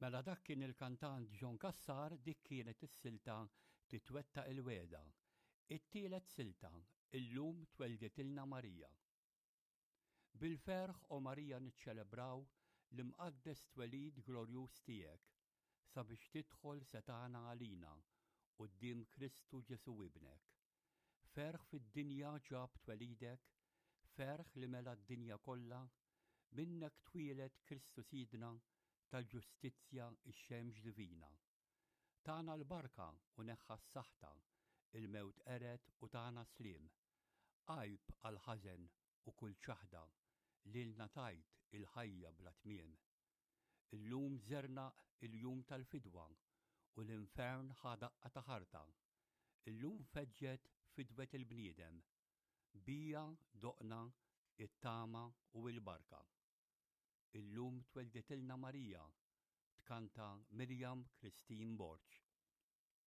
Mela dak kien il-kantant John Cassar dik kienet is-silta Titwettaq il-Wegħda. It-tielet silta, Illum twelditilna Marija. Bil-ferħ o Marija niċċelebraw l-imqaddes twelid glorjuż tiegħek, sabiex tidħol setgħana għalina quddiem Kristu Ġesù Ibnek. Ferħ fid-dinja ġab twelidek, ferħ li mela d-dinja kollha, minnek twieled Kristu Sidna tal-ġustizzja x-xemx divina. Tana l-barka u neħħa s-saħta, il-mewt qered u tana sliem. Għajb għall-ħażen u kull ċaħda, lilna tajt il-ħajja bla tmiem. Illum żernaq il-jum tal-fidwa u l-infern ħa daqqa ta' ħarta. Illum feġġet fidwet il-bniedem. Bija doqna it-tama u l-barka. Illum twelditilna Marija, tkanta Miriam Christine Borg.